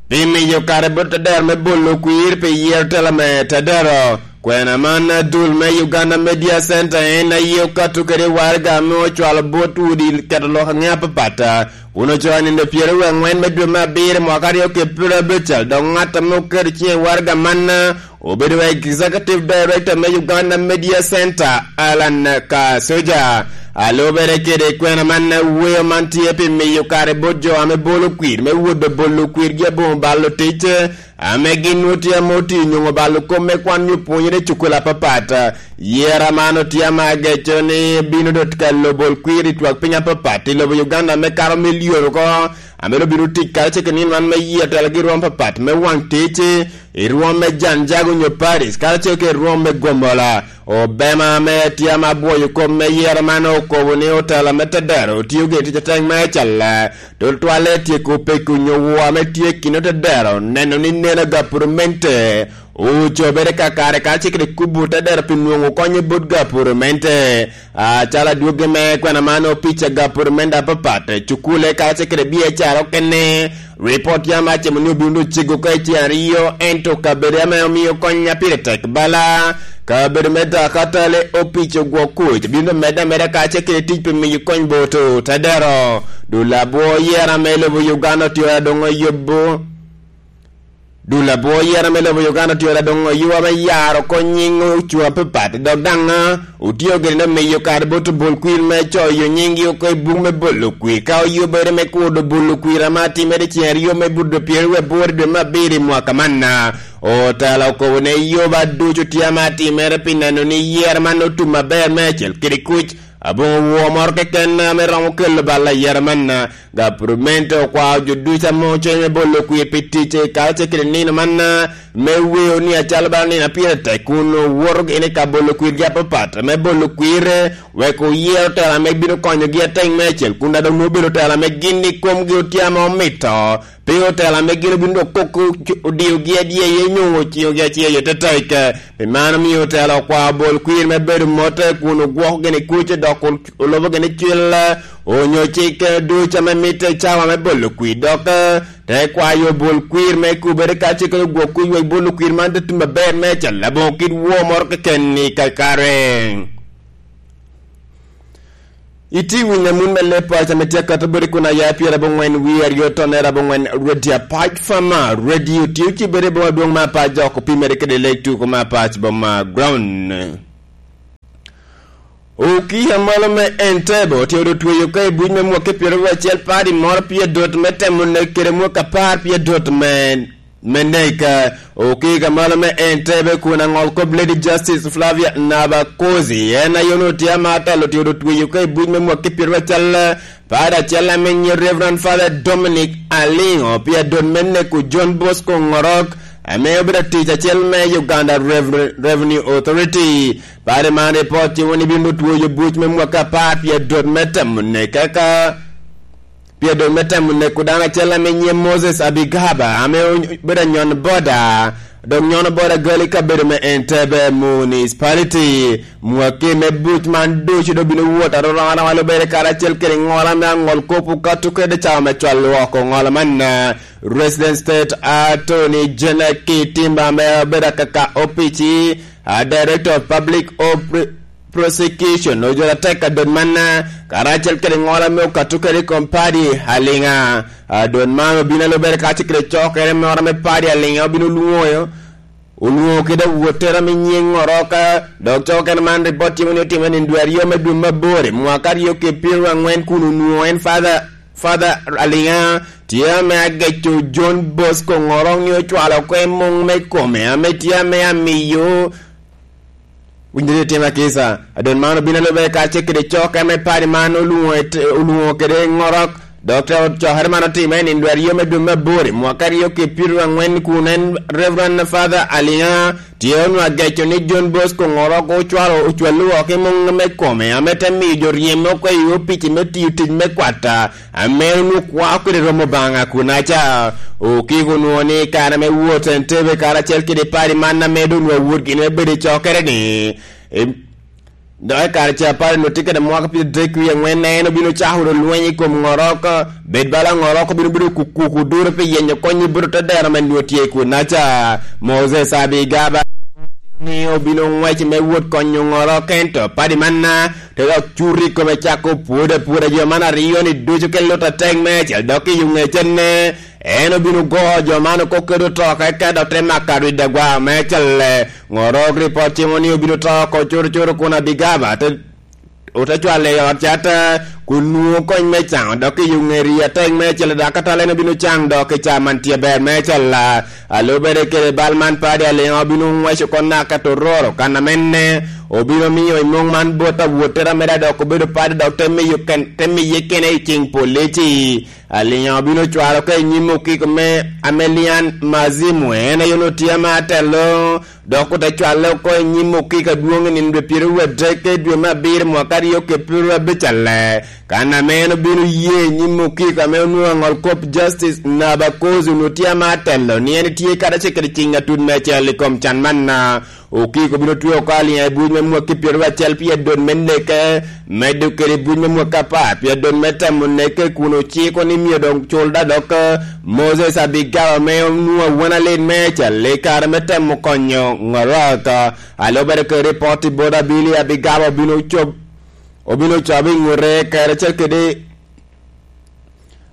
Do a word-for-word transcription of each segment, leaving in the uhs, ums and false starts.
Pi miyo kare bot Tadero me bolo kwir pi yero tela me Tadero, kwena man adul me Uganda Media Center en aye okato kede waraga ame ocwalo bot udi keto lok aŋe apapat, kun ocoo i nino pyeraryo angwen me dwe me abiro mwaka aryo ki pyeraryo abical, dok ŋat ame oketo ciŋe i waraga man obedo executive director me Uganda Media Center, Alan Kasoja. A lubere kede kwena man, weyo man tye pi miyo kare bot jo ame bolo kwir me wot bolo kwirgi aboŋo balo tic, ame gin nwoŋo tye ame otiyo nyoŋo balo kop me kwan nyo pwonyere i cukul apapat. Yera man otye ame ageco ni bino dot ka lobol kwir i twak piny apapat i lobo Uganda me kato milion oko, ame obino tic karacel ki nino man me yero telogi i rwom apapat me waŋ tic, i rwom me Janjago nyo Paris, karacel ki i rwom me Gomola. Obema ame tye ame abwoyo kop me yero man okobo ni otela me Tadero otio gire tic atek me acalla, tutwalle tyeko peko nyo woo ame tye i kin Tadero, neno ni neno gapurmente ocobere kakare karacel kede kubo Tadero pi nwoŋo konye bot gapurmente. Acalo adwoggi me kwena man, opica gapurmente apapat, cukule karacel kede biacara okene, ripot yam acemo ni obino doŋ cego ka i tyen aryo, ento kabedo ame omio kony-na pire tek bala, kabedo me Dakatale, opic ogwok kuc, bino medde ameda kacel kede tic pi miyo kony bot Tadero. Dul abwo yera me lobo Uganda otye doŋ oyubo. Dul abwo yera me lobo Uganda otye doŋ oyubo ame yaro oko nyiŋ ocuŋ apapat, dok daŋ otio gire ni miyo kare bot obol kwir me coyo nyiŋgi oko i buk me bolo kwir, ka oyubere me kudo bolo kwir ame atimere i cen aryo me buto pyeraryo aboro i dwe me abiro i mwaka man. Otela okobo ni yuba ducu tye ame atimere pi neno ni yero man otum aber meicel kede kuc. Aboŋo woo moro keken ame romo kelo bal ayera man. Gapurumento okwao jo ducu ame ocweny me bolo kwir pi tic i karacel kede nino man, me weo ni acalo bala nino a pire tek kun owoto gini ka bolo kwirgi apapat me bolo kwir, wek oyer otela ame bino konyogi atek meicel, kun adong nwoŋo obedo otela ame gin i komgi otye ame omito. Pe otela ame gin obino dok koko odiogi adyeya nyo ociŋogi acel i te tek. Pi man omio otela okwao bol kwir me bedo mot kun ogwoko gini kuc, dok ol-, olubo gini cil, onyo cik ducu ame mitte i cawa me bolo kwir, dok te kwayo bol kwir me kubere ka cik ogwok kuc wek bolo kwir man te tum aber me acel aboŋo kit woo moro keken i kakare. Iti winyo amut me leb paco ame tye akato bodi kun aya pyerabongwen wie aryo tonere abongwen, Radio Apac Fama, Radio tye ocibere boma dwong ma Apac dok opimere kede leg tuko ma Apac boma ground. Okiya malo me Entebbe otye otweyo ka i buc me mwaki pyeraryo acel padi moro pye dot me temo nek kede mwaki apar pye dot me me nek. Okika malo me Entebbe kun aŋol kop Lady Justice Flavia Nabakozi, en aye onwoŋo tye ama talo tye otweyo ka i buc me mwaki pyeraryo acel, pad acel ame nyiŋe Reverend Father Dominic Aliŋo, pi adot me neko John Bosco Ŋorok, ame obedo atic acel me Uganda Rever-, Revenue Authority. Pad man ripot tye woni bino tweyo buc me mwaka apar pi adot me temo neke ka Pi adot me temo neko dano acel ame nyiŋe Moses Abigaba, ame obedo anyon boda, dok nyono boda gali kabedo me Entebbe Municipality. Mwaki me buc man ducu dok bino wot aroro aroma lubere karacel kede ŋola me aŋol kop okato kede cawa me cwalo oko ŋola man. Resident State Attorney General Kitimba ame obedo akaka opici, a Director of Public Op-, Prosecution, ojolo atek adot man, karacel kede ŋola me okato kede i kom padi Aliŋa. Adot man obino alubere kacel kede cokere moro me padi Aliŋa obino lwoŋo, olwoŋo kede awottere ame nyiŋ Oroka, dok cokere man ripot timo ni otimere i dwe aryo me dwe me aboro, mwaka aryo ki pyeraryo angwen, kun onwoŋo en Father, Father Aliŋa tye ame ageco John Bosco Ŋorok ni ocwalo oko i muŋ me kome ame tye ame amiyo Winyo ni otima kica, adon man obino alube kacel kede cok ame padi man olwoŋo et-, olwoŋo kede Ŋorok, dok te cokere man otime i nino aryo me dwe me aboro, mwaka aryo ki pyeraryo angwen, kun en Reverend Father Aliŋa tye onwa geco ni John Bosco Ŋorok ocwalo, ocwallo oko i muŋ me kome, ame te miyo jo ryem oko i opici me tiyo tic me kwata, ame onwoŋo kwao kede romo Obaŋa kunaca. Okiko onwoŋo ni kare me wot Entebbe karacel kede padi man ame doŋ onwoŋo awot gin me bedo i cokere-ni, em, Dok i kare ca pare onwoŋo tye kede mwaka pyeraryo adek wie aŋwen, en obino cako wunu lweny i kom Ŋorok. Bed bala Ŋorok obino bedo kukuku duro pi yenyo kony i bot te dero ame nwoŋo tye i kunnaca. Moses Abigaba ni obino ŋwec me wot konyo Ŋorok, ento padi manna te dok cuto i kome cako pwodo apwoda jo man aryo-ni ducu kede lut atek meicel, dok i yo ŋecenne en obino go jo man oko kede otoka, eka dok te mako arwiddi agwa meicel. Ŋorok ripot timo ni obino to oko curucuru kun Abigaba te, ote cwalo i ot cat, kun nwoŋo kony me caŋo dok i yo ŋeri atek meicel, dok atal en obino caŋ dok i ca man tye ber meicel. A lubere kede bal man padi, Aliŋa obino ŋweco oko naka tororo kan amenne, obino miyo i muŋ man bot awottere ameda dok obedo padi dok te miyo ken-, te miye kene i ciŋ polici. Aliŋa obino cwalo oko i nyim okiko me Amelian Mazimu, en aye onwoŋo tye ame atelo, dok ote cwale oko i nyim okiko adwoŋ i nino dwe pyeraryo adek i dwe me abiro mwaka aryo kede pyeraryo abicalle, kan ame en obino ye i nyim okiko ame onwoŋo aŋol kop Justice Nabakozi onwoŋo tye ame atelo, ni en tye karacel kede ciŋ atut meicel i kom can manna. Okiko bino twe oko Aliŋa i buc me mwaki pyeraryo acel pi adot me neke, medo kede buc me mwaki apar pi adot me temo neke, kun ociko ni myero doŋ cul da dok Moses Abigaba ame onwoŋo awene alit meicel i kare me temo konyo Ŋorok. A lubere kede ripot i bot Abili, Abigaba obino cob-, obino cobo i ŋute karacel kede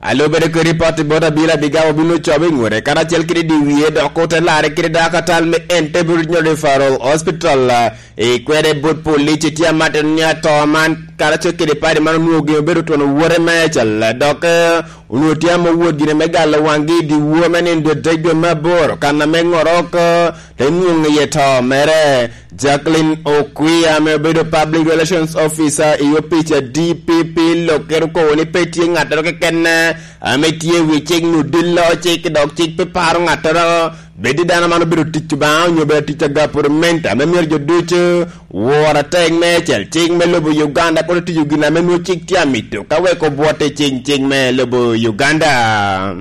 A lubere kede ripot i bot Abili, Abigaba obino cobo i ŋute karacel kede dyewye, dok ote larre kede dako atal me Entebbe Regional Referral Hospital, eh, i kwede bot police tye amatino ni ato man karacel kede padi man onwoŋo gin obedo twon owote meicel, dok, eh, onwoŋo tye ame owot gire me galo waŋgi i dyewor me nino dwe adek dwe me aboro, kan ame Ŋorok, eh, te nwoŋo iye to mere. Jacqueline Okwia ame obedo Public Relations Officer i opic a D P P Loket okobo ni pe tye ŋattoro keken ame tye i wi cik nyo dillo cik, dok cik pe paro ŋattoro, bed i dano man obedo tic Obaŋa onyo obedo tic a gavernment, ame myero jo ducu wor atek meicel cik me lobo Uganda, kono tiyo gin ame nwoŋo cik tye amito ka wek obwot i cing cik me lobo Uganda.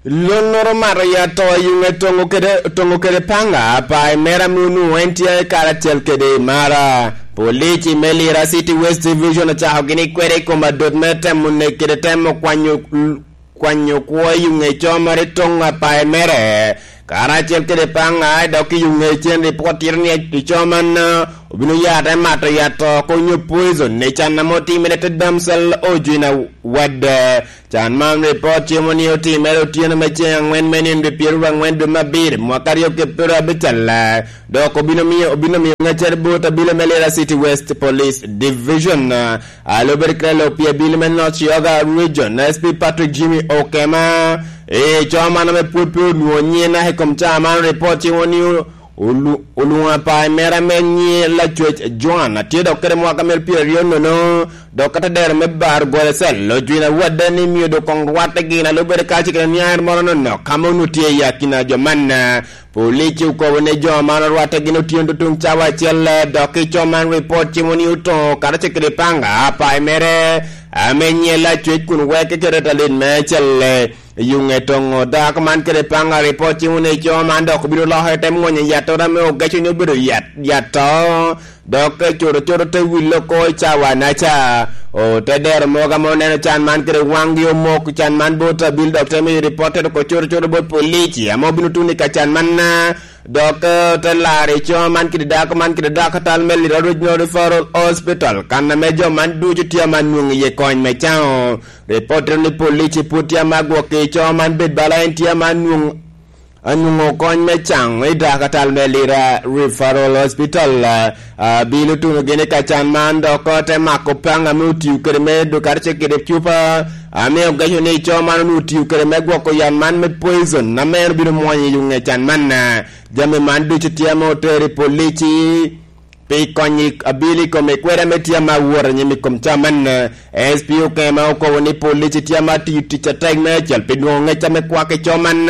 Lonnoro mato ya to i yuŋe Toŋo kede, Toŋo kede Paŋa, apayi mere ame onwoŋo en tye karacel kede i Mara. Police me Lira City West Division ocako gini kwede i kom adot me temo nek kede temo kwanyo, kwanyo kwo i yuŋe Comoro i Toŋo apayi mere. Karacel kede Paŋa, dok i yuŋe cen ripot tito ni i co man, obino ya te mato ya to oko nyo poison i can ame otimere te damsel ojwina wadde. Can man ripot timo ni otimere otyeno me ceŋ aŋwen me nino dwe pyeraryo aŋwen dwe me abiro mwaka aryo kede pyeraryo abicalle, dok obino miyo, obino miyo ŋeccere bot abilo me Lira City West Police Division. A lubere kede lok pi abilo me North Yoga Region, S P Patrick Jimmy Okema, e, co man ame pwod pe onwoŋo nyiŋe naka i kom ca man, ripot timo ni olu-, olwoŋo apayi mere ame nyiŋe Lacwec Joan, atye dok kede mwaka mere pyeraryo nono, dok ka te dero me bar gole cel, ojwin awadde ni myero doŋ koŋ rwatte gin a lubere kacel kede niaŋ moro nonok, ka ma onwoŋo tye i akina jo man. Police okobo ni jo man orwatte gin otyeno tutuŋ cawa acel, dok i co man ripot timo ni otoŋo karacel kede Paŋa apayi mere ame nyiŋe Lacwec kun weke kede talit me acel. Yuŋe Toŋo dako man kede Paŋa ripot timo ni co man dok obino lokere te mwonyo yattora ame ogeco ni obedo yat, yat to, dok cuto cuto te wille oko i cawa naca. Ote dero mogo ame oneno can man kede waŋgi omok, can man bot abil dok te miyo ripot te doko cuto cuto bot polici ame obino tuno i ka can man, dok, eh, te laro i co man kede dako man kede dako atal me Lira Regional Referral Hospital, kan ame jo man ducu tye ame nwoŋo iye kony me caŋo. Ripot tito ni polici pwod tye ame agwok i co man bed bala en tye ame nwoŋo, anwoŋo kony me caŋo i dako atal me Lira Referral Hospital. Ah, bilo tuno gini ka can man dok te mako Paŋa ame otio kede me dukare ce kede cupa, ame ogeco ni co man onwoŋo otio kede me gwoko yat man me poison, ame en obino mwonyo i yuŋe can man. Jami man ducu tye ame otero i polici pi konyo abili i kome kwede ame tye ame awot anyim i kom ca man. S P Okema okobo ni polici tye ame atiyo tic atek me acel pi nwoŋo ŋec ame kwak i co man,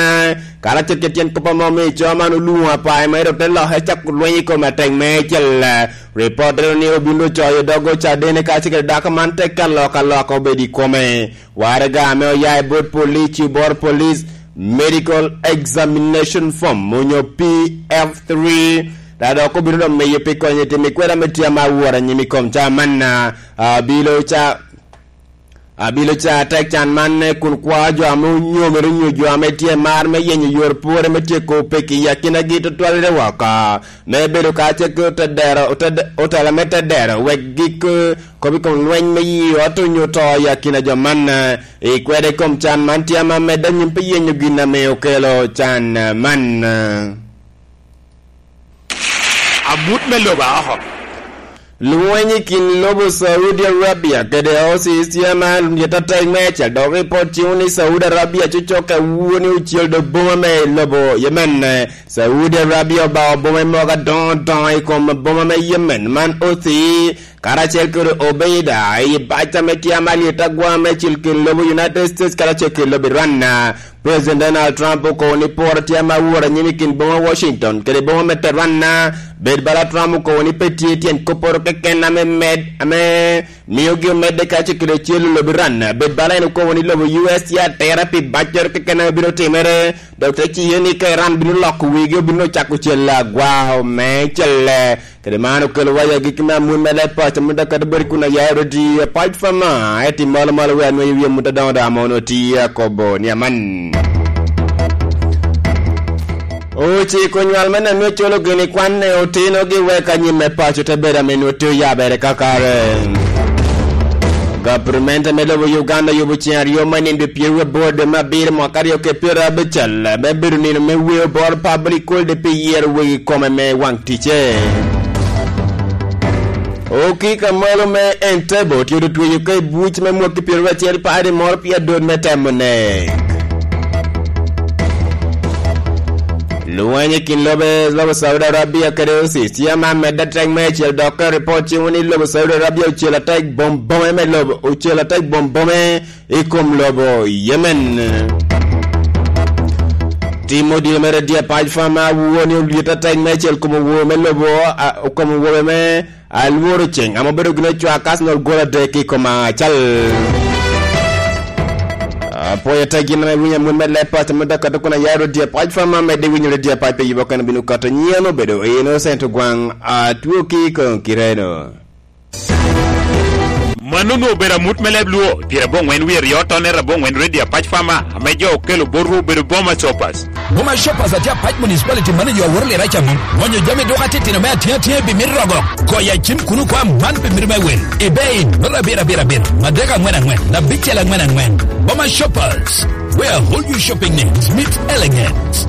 karacel kede tyen kop ame omio co man olwoŋo apayi mere ote loke cako lweny i kome atek me acel. Ripot tito ni obin ocoyo dog Ocadene kacel kede dako man te ka lok aloka obedo i kome. Waraga ame oya i bot polici, bot Police Medical Examination Form, onyo P F three, Te dok obino dok miyo pi konyo i tim i kweda me tye ame aworo anyim i kom ca man, a, abilo ca, abilo ca tek can man, eh, kun kwa jo ame onyomere onyo jo ame tye mar me yenyo yor pwore me tyeko peki i akinagi tutwalere woko, me bedo kacel ki otedero, oted-, otela me tedero, wek gik, eh, kop i kom lweny me yi ot onyo to i akina jo man, eh, i kweda i kom can man tye ame amedde anyim pi yenyo gin ame okelo can, eh, man. Amut me lobo aoko. Lweny i kin lobo Saudi Arabia kede Houthis tye ma lyet atek meicel, dok ripot ciwo ni Saudi Arabia cocokke awuo ni ocel do boma me lobo Yemen. Saudi Arabia obao boma i mogo adoŋo doŋo i kom boma me Yemen man Houthi, karacel kede Obeida, i bac ame tye ama lyet agwa me cil kin lobo United States karacel kede lobo Iran. President Donald Trump okobo ni poro tye ame aworo anyim i kin boma Washington kede boma me Tehran. Bed bala Trump okobo ni pe tye tyen kopporo keken ame med, ame miogi omedde ka cokere cel i lobo Iran. Bed bala en okobo ni lobo U S tye atera pi baccoro keken ame bino timere, dok te ciyo ni ka Iran bino loko wigi, obino cako cel agwa me celle. Kede man okelo waya gik me amut me leb paco ame dok kadi bed kun aya i rodi apac fama, eti malo malo wer nweyo wie mut adoŋo doŋ ame onwo ti akobo ni aman. Ociko nywal me neno culo gini kwan ne otino gi wek anyim me paco te bedo ame nwo te oyabere kakare. Gabernment me lobo Uganda yubo ceng aryo me nino pyeraryo aboro dwe me abiro mwaka aryo kede pyeraryo abicel, me bedo nino me weo bor public holiday pi yero wegi kome me waŋ ticce. Okika malo me Entebbe otyeko tweyo ka i buc me mwaki pyeraryo acel padi moro pi adot me temo nek. Lweny i kin lobe, lobo Saudi Arabia kede Houthis tye ame amedde atek meicel, dok ka ripot ciwo ni lobo Saudi Arabia ocel atek bom bome me lobo, ocel atek bom bome i kom lobo Yemen. Tim odilo mere dye pac fama awuo ni olyet atek meicel kom owo me lobo, a, kom owo me alworo ceng, ame obedo gin ocwak Arsenal gol adek i kom acal. Apwoyo te gin ame winyo amut me leb paco me dakato kun ayaro dye pac fama medde winyo dye pac pe yubo kene bino kato nyieno bedo eno sento gwaŋ atwo ki koŋ kireno. Mano onwoŋo obedo amut me leb Luo, pyerabongwen wie ryo tonne rabongwen redio apac fama, ame jo okelo botwu obedo Boma Shoppers. Boma Shoppers atye apac municipality manager aworo lira camo. Gonyo jami duka titino me atye atye pi mito rogo. Goyo acim kuno kwa man pi mito me wil. Ebei, nolo abir abir abir, madek angwen angwen, abicel angwen angwen. Boma Shoppers, where all your shopping needs meet elegance.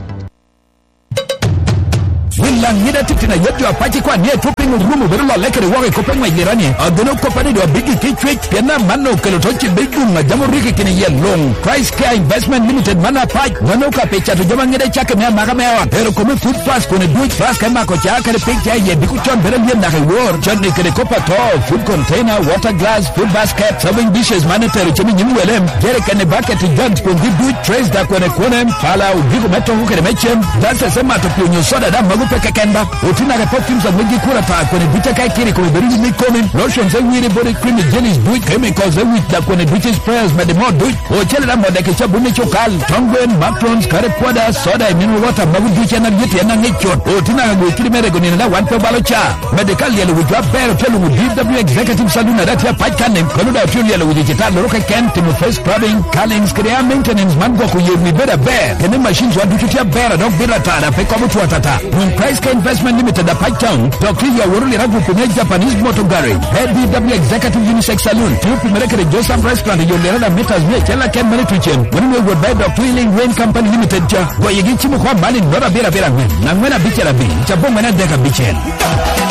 Wil aŋida titino ayet jo apac ikwan ni etwo piny orumo bedo lolle kede woko i kop eŋwec lirani. Ageno koppa ni do abigi ki cwec, pien amanno okelo to cibbe i gum a jam oriki kini yel luŋ. Christ Care Investment Limited man apac, mano ka pi cato jami aŋida cakke me amaka me ot. Pero kome food fast kone duc, flask me mako ca kede pig ca iye diko con bedo lyem naka i wor. Cotni kede kop ato, food container, water glass, food basket, serving dishes man etero cem i nyim wele, jerrycan i bucket i jug kun gi duc, trays da kwene kwene, pala, odiko me toko kede me cem, glasses me mato pi onyo soda da mago pe keken ba. Oti naka perfumes a megi kura ta kwene duc aka ikiri kome bedo yim i komi, lotions e wiri body cream i jellies duc, chemicals e wit da kwene duc i sprayers mede mo duc. Ocele da modde ki cabun i cukal, tong gwen, macarons, curry powder, soda, i mineral water, mago ducu en alyet en aŋic cut. Oti naka gwe kidi me rego nino da wan pe obalo ca. Mede ka lyelo wic wa ber ote luŋo D W Executive Saloon ada tye apac kan ni, kono da otye lyelo wic i citar loro keken, timo face scrubbing, curlings, kede air maintenance man gwoko yer wi bedo aber. Kene machines wa ducu tye aber, adok bit atar, ape kobo two atata. Won Christ Care Investment Limited apac town, dok tye yo aworo lira gupi me Japanese Motor Garage. Head D W Executive Unisex Saloon, tye opimere kede Joseph Restaurant i yo lirada meters mia acel aken mene tucen. Wani me wot ba i dok Twilling Rain Company Limited ca. Goyegi cimo kwa malin nota abiro abiro angwen, angwen abicel abiro, cabo angwen adek abicel.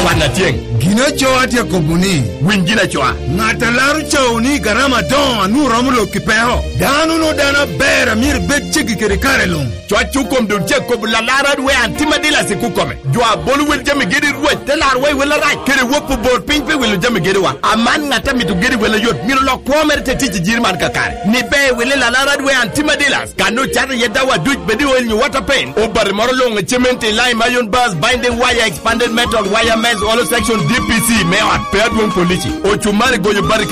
Kwan atyeng. Gin acoo atye akobo ni, winy gin acoa. Ŋat a laro cawo ni garama adoŋo a nwoŋo romo lok i peko. Dano no dano aber a myero bed ceggi kede kare luŋ. Cwac okom dul cek kobo lalar adwe antima dila siku kome. Jo a bolo wel jami gedi Rwot te lar wa i wel arac, kede wok obor piny pe wilo jami gediwa. Aman ŋat a mito gedi wel ayot, myero lok kwo mere te tic i jiri man kakare. Ni be wili lalar adwe antima dilas, kan ocato iye dawa duc bedi oil nyo water paint. Obati moro luŋ i cement i lime iron bars, binding wire, expanded metal, wire mesh, hollow section, D P C, me ot, pe adwoŋ polici. Ocumari goyo bati